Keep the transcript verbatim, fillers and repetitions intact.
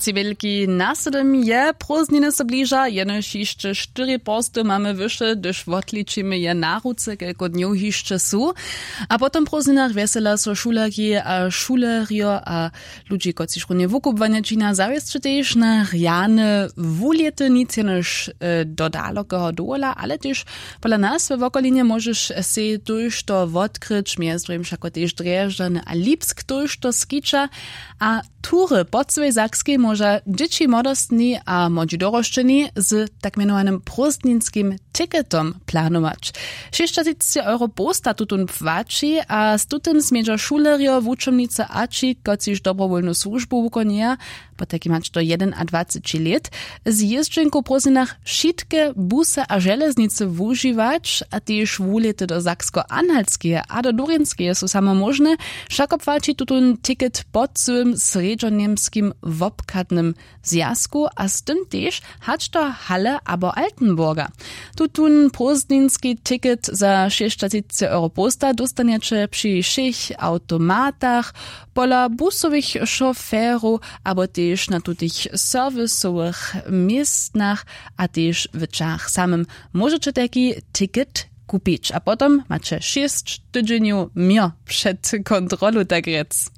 Sej wjelki nasydom je, prózdniny so bliža, jenož hišće štyri porsty mamy wyše, hdyž wotličimy je na ruce, kelko dnjow hišće su. A po tym prózdninach wjesela so šulerki a šulerjo a ludźi, kotřiž runje wukubłanje čina, zawěsće tež na rjane wulěty, nic jenož do dalokeho dowola, ale tež pola nas we wokolinje móžeš sej tójšto wotkryć, mjez druhim wšako tež drježdźany a lipsk tójšto skića. A tury po cyłej sakskej móža dźěći, młodostni a młodźi dorosćeni z tak mjenowanym prózdninskim tiketom planować. Šěsćatřicci euro połsta tutón płaći a z tutym smědźa šulerjo, wučomnicy a ći, kotřiž dobrowólnu słužbu wukonjeja, potajkim hač do jedenadwaceći lět, z jězdźenku w prózdninach wšitke busy a železnicy wužiwać. A tež wulěty do saksko-anhaltskeje a do durintskeje su samo móžne. Wšako płaći tutón tiket po cyłym srjedźoněmskim wobchadnym zwjazku a z tym tež hač do Halle abo Altenburga. Tutón prózdninski tiket za šěsćatřicci euro połsta dóstanjeće při wšěch awtomatach, pola busowych šoferow abo tež na tutych serwisowych městnach a tež w ćahach samym móžeće tajki tiket kupić. A potom maće šěsć tydźenjow měr před kontrolu, tak rjec.